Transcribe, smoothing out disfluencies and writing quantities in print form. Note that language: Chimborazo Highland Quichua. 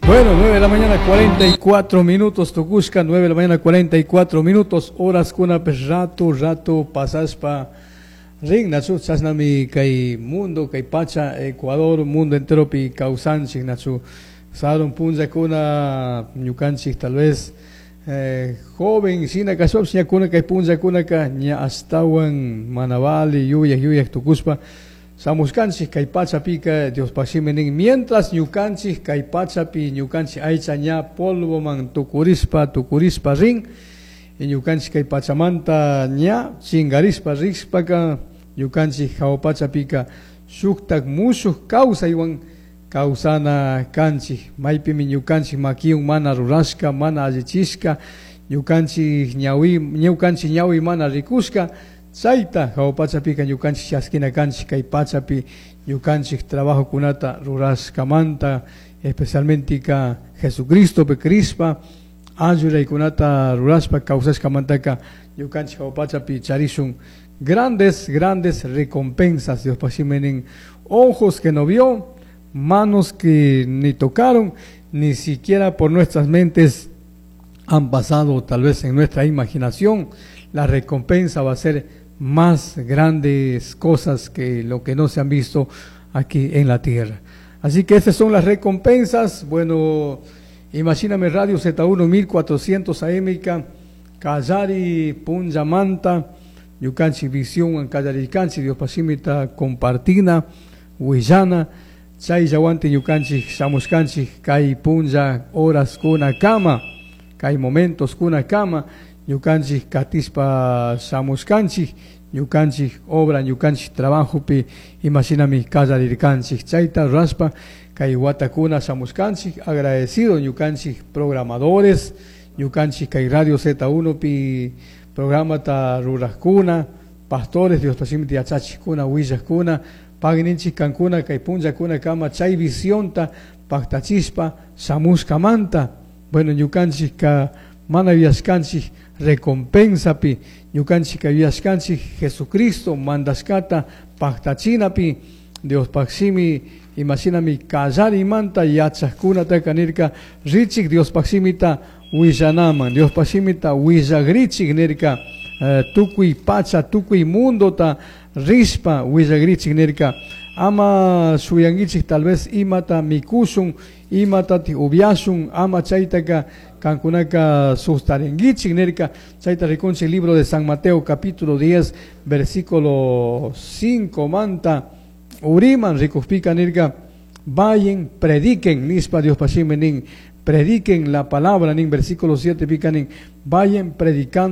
Bueno, 9 de la mañana 44 minutos, tucushca, 9 de la mañana 44 minutos, horas kuna rato, rato, pasaspa, rin, nachu, chasnami kay mundo, kay pacha, Ecuador, mundo entero pi kawsanchik, nachu, sarun punllakuna, ñukanchik tal vez, joven, shina kashpapish ña kuna kay punllakunaka ña ashtawan mana vali, yuyak, yuyak tukushpa, shamushkanchik kay pachapika Diospaj shimi nin, mientras ñukanchik kay pachapi ñukanchik aycha ña polvoman tukurishpa, tukurishpa rin, y ñukanchik kay pachamanta ña chingarishpa rishpaka ñukanchik jahua pachapika shuktak mushuj kawsaywan kawsana kanchik, maypimi ñukanchik makiwan mana rurashka, mana allichishka, ñukanchik ñawi, ñukanchik ñawi mana rikushka, chayta jahua pachapika ñukanchik chaskina kanchik kay pachapi ñukanchik trabajokunata rurashkamanta, especialmente ka Jesucristopi crishpa, ayudaykunata rurashpa kawsashkamantaka ñukanchik jahua pachapi charishun grandes, grandes recompensas. Diospaj shimi nin, ojos que no vio, manos que ni tocaron, ni siquiera por nuestras mentes han pasado, tal vez en nuestra imaginación, la recompensa va a ser más grandes cosas que lo que no se han visto aquí en la tierra. Así que esas son las recompensas. Bueno, imagíname Radio Z1 1400 AM, Kallari, Punllamanta, ñukanchik Visión, Kallarikanchik, Diospaj shimita compartina, Huillana, chayllawanti ñukanchik shamushkanchik kay punlla horas kuna kama, kay momentos kuna kama, ñukanchik katispa shamushkanchik, ñukanchik obra, ñukanchik trabajopi, imashinami kallarirkanchik, chayta rurashpa kay watakuna shamushkanchik, agradecido ñukanchik programadores, ñukanchik kay Radio Z1 pi programata rurajkuna, pastores, Diospaj shimita yachachikuna, willajkuna, pagninchik kankuna, kay punllakuna kama chay visionta paktachishpa shamushkamanta. Bueno, ñukanchik ka mana yuyashkanchik recompensapi, ñukanchik ka yuyashkanchik Jesucristo mandashkata paktachinapi, Diospaj shimi imashinami kallarimanta yachajkunataka nirka richik Diospaj shimita willanaman, Diospaj shimita willagrichik nirka, tukuy pacha, tukuy mundota rishpa willagrichik nirka, ama shuyanguichik tal vez imata mikushun, imata upiashun, ama chaytaka kankunaka sustaringuichik nirka, chayta rikunchik libro de San Mateo capítulo 10 versículo 5 manta uriman rikujpika nirka, vayan, prediquen, nispa Diospaj shimi nin, prediquen la palabra, nin versículo 7 pika nin, vayan predicando.